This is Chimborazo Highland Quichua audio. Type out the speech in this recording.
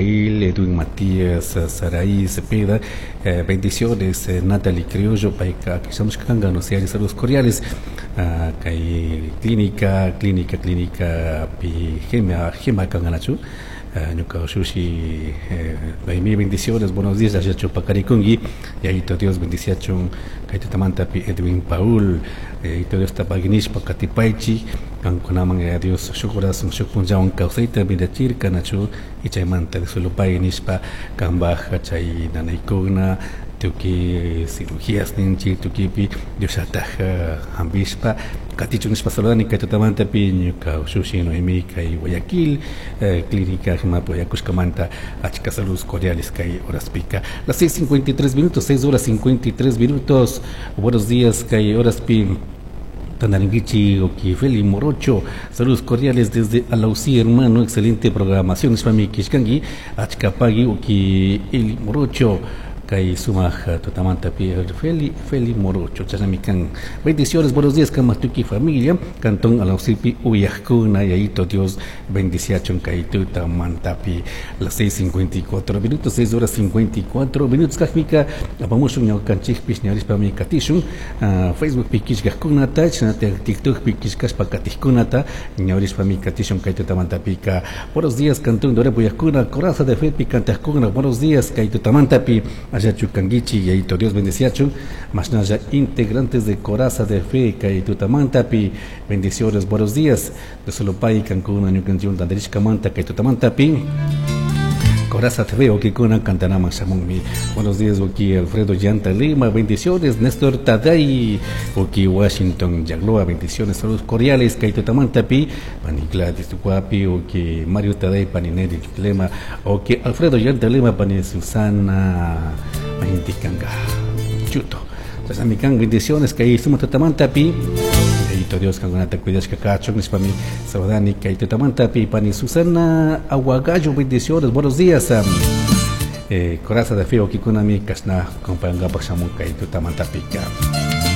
Abigail, Edwin Matías, Saraí Cepeda, bendiciones, Natalie Criollo, payka shamushka kanka, no sé, saludos cordiales, kay clínica, clínica, clínica pi Gema, Gema kanganachu, ñuka ushushi, Noemí, bendiciones, buenos días, ashachu pakarikunki, Yayito Dios bendiciachun, kay tutamantapi Edwin Paul, Yayito Dios tapaginishpa katipaychik, kankunaman Yaya Dios shuk horas shuk punllawan kawsayta mirachirka nachu, y chaymanta disolopay nishpa kambaj chay nanaykuna tukuy cirugías ninchik tukuipi Diosllataj hampishpa katichun nishpa saludani kay tutamantapi ñuka ushushi Noemí kay Guayaquil clínica Jimapi Guayacushkamanta achka saludos cordiales kay horaspika. Las 6:53 minutos, 6 horas 53 minutos. Buenos días kay horaspi Tandaringuichi, Oki Feli Morocho, saludos cordiales desde Alausí, hermano, excelente programación, nishpami kishkanki, achka pagui, Oki Eli Morocho, kay sumaj tutamantapi Feli, Feli Morocho, chashnami kan. Bendiciones, buenos días, Kamatuki familia, Cantón Alausipi, Uyajkuna, Yayito Dios, bendiciachon kay tutamantapi, las 6:54 minutos, 6 horas 54 minutos, kajmika, apamushun ñawkanchikpish, ñawrishpami katishun, Facebook pi kishkajkunata, chashnatak TikTok pi kishkashpa katijkunata, ñawrishpami katishun kay tutamantapika. Buenos días, Cantón Dore Uyajkuna, Coraza de Fe pi kantajkuna, buenos días, kay tutamantapi, Ayachu Kanguichi, Yayito Dios bendeciachun, mashnalla integrantes de Coraza de Fe, kay tutamantapi, bendiciones, buenos días, de Solopay, Cancún, Añucanchun, Tanderishkamanta, kay tutamantapi. Coraza TV, Okikuna, Cantanama, Shamunmi. Buenos días, Oki Alfredo Llanta Lima, bendiciones, Néstor Taday, Oki Washington Yagloa, bendiciones, saludos cordiales, Kaito Tamantapi, Pani Gladys Tucuapi, Oki Mario Taday, Pani Neri Lema, Oki Alfredo Llanta Lima, Pani Susana Mahintikanga, Chuto. Chasamikan, bendiciones, kay suma tutamantapi. Yayito Dios, kankunata cuidashka kachun, nishpami saludani, kay tutamantapi, Pani Susana Aguagallo, bendiciones, buenos días. Coraza de Fe, Okikunami, kashna, compañanga, shamun, kay tutamantapika.